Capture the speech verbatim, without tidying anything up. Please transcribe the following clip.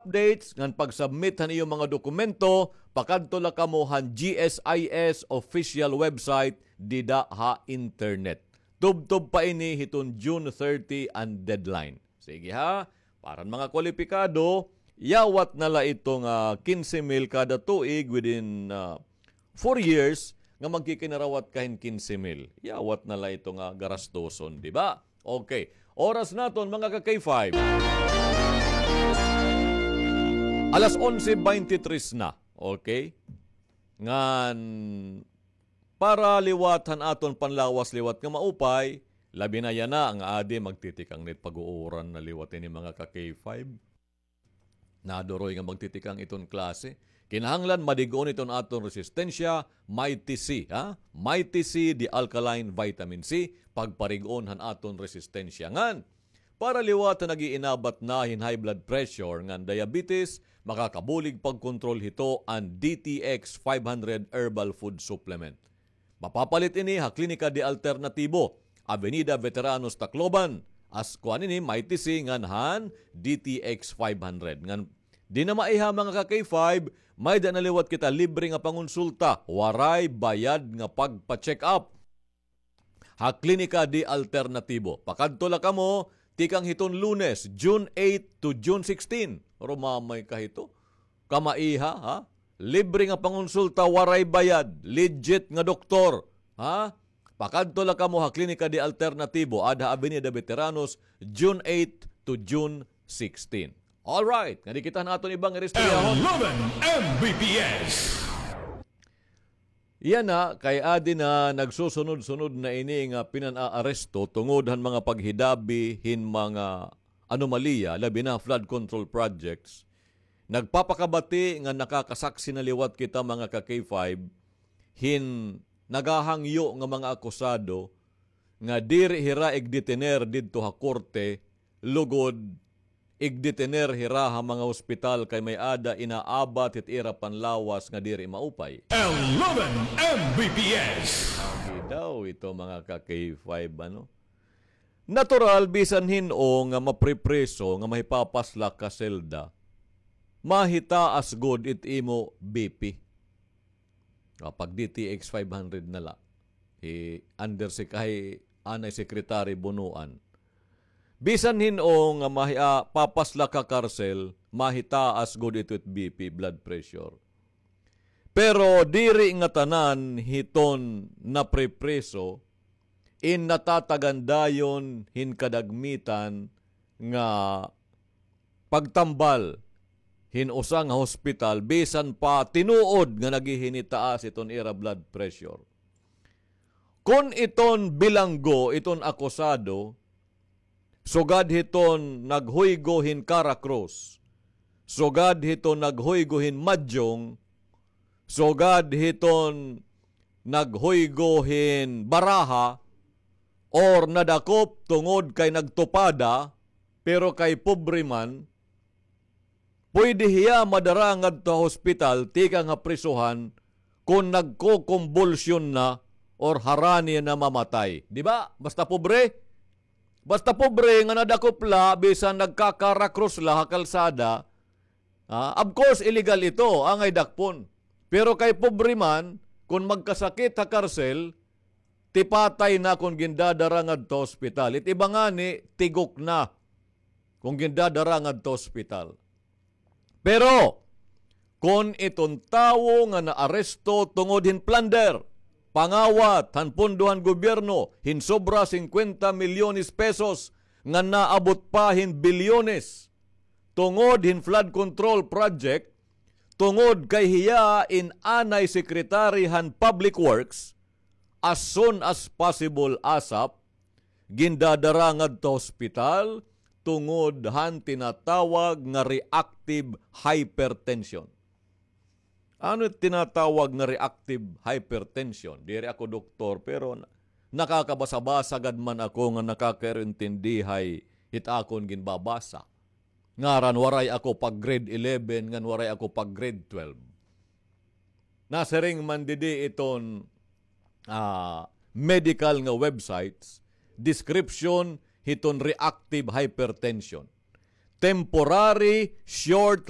updates ngan pag-submit han iyo mga dokumento, pakadto la kamo han G S I S official website dida ha internet. Tubtob pa ini hiton June thirty an deadline. Sige ha, para han mga kwalipikado, yawat na la ito nga kinse mil kada tuig within, ah, four years nga magkikinarawat ka hin kinse mil. Yawat na la ito nga garastoson, di ba? Okay. Oras naton, mga ka-K five. Alas onse beintitres na. Okay? Ngan, para liwat han aton panlawas liwat nga maupay, labi na yana nga adi magtitikang na it pag-uuran na liwat ini, mga ka-K five. Naduroy nga magtitikang iton klase. Kinahanglan madig-on iton aton resistensya, Mighty C, ha? Mighty C, the alkaline vitamin C, pagparig-on han aton resistensya. Ngan, para liwat han nag-iinabat na hin high blood pressure ngan diabetes, makakabulig pagkontrol hito an D T X five hundred Herbal Food Supplement. Mapapalit ini ha Klinika de Alternatibo, Avenida Veteranos, Tacloban. As kuan ini, Mighty C ngan han D T X five hundred. Ngan di na maiha, mga ka-K five, may-ada na liwat kita libre nga pangonsulta, waray bayad nga pagpa-check up ha Klinika de Alternatibo. Pakadto la kamo tikang hiton Lunes, June eight to June sixteen. Rumamay ka hito. Kamaiha, ha? Libre nga pangonsulta, waray bayad, legit nga doktor, ha? Pakadto la kamo ha Klinika de Alternatibo, ada ha Avenida Veteranos, June eight to June sixteen. All right, ngadi kita han aton ibang iristoryahon. Eleven M B P S. Yana, kay adi na nagsusunod-sunod na ini nga pinan-aaresto tungod han mga paghidabi hin mga anomalya, labi na flood control projects. Nagpapakabati nga nakakasaksi na liwat kita, mga ka-K five, hin naghahangyo nga mga akusado nga diri hira igdetener didto ha korte, lugod igdetener hira ha mga hospital kay may-ada inaabat hit ira panlawas nga diri maupay. Eleven M B P S. Agi daw ito, mga ka-K five, ano? Natural, bisan hin-o nga mapripriso, nga mahipapaslak ka selda, mahitaas gud it imo B P. Ah, pag D T X five hundred na la. Hi Under Sec-, hi Anay Secretary Bonoan. Bisan hin-o nga mahi-, ah, papaslak ha karsel, mahitaas gud ito it B P, blood pressure. Pero diri ngatanan hiton napripriso in natatagan dayon hin kadagmitan nga pagtambal hin usa nga hospital, bisan pa tinuod nga naghihinitaas iton ira blood pressure. Kon iton bilanggo, iton akusado, sugad hiton naghuygo hin Cara Cruz, sugad hiton naghuygo hin Madyong, sugad hiton naghuygo hin Baraha, or nadakop tungod kay nagtupada, pero kay pobre man, pwede hiya madara ngadto ha hospital tikang ha prisohan kon nagkokombulsyon na or harani na mamatay. Di ba? Basta pobre. Basta pobre nga nadakop la, bisan nagkakarakrus la ha kalsada, ah, of course, illegal ito, angay dakpon. Pero kay pobre man, kon magkasakit ha karsel, tipatay na kon gindadara ngadto ha ospital. It iba ngani, tigok na kon gindadara ngadto ha ospital. Pero, kon iton tawo nga naaresto tungod hin plunder, pangawat han pondo han gobyerno hin sobra singkwenta milyones pesos nga naabot pa hin bilyones, tungod hin flood control project, tungod kay hiya in anay secretary han Public Works, as soon as possible, ASAP, gindadara ngadto ha ospital tungod han tinatawag nga reactive hypertension. Ano it tinatawag nga reactive hypertension? Diri ako doktor, pero na-, nakakabasa-basa gad man ako nga nakakaintindi hay hit akon ginbabasa. Ngaran, waray ako pag grade eleven, ngan waray ako pag grade twelve. Nasiring man didi iton, ah, medical nga websites, description hiton reactive hypertension. Temporary short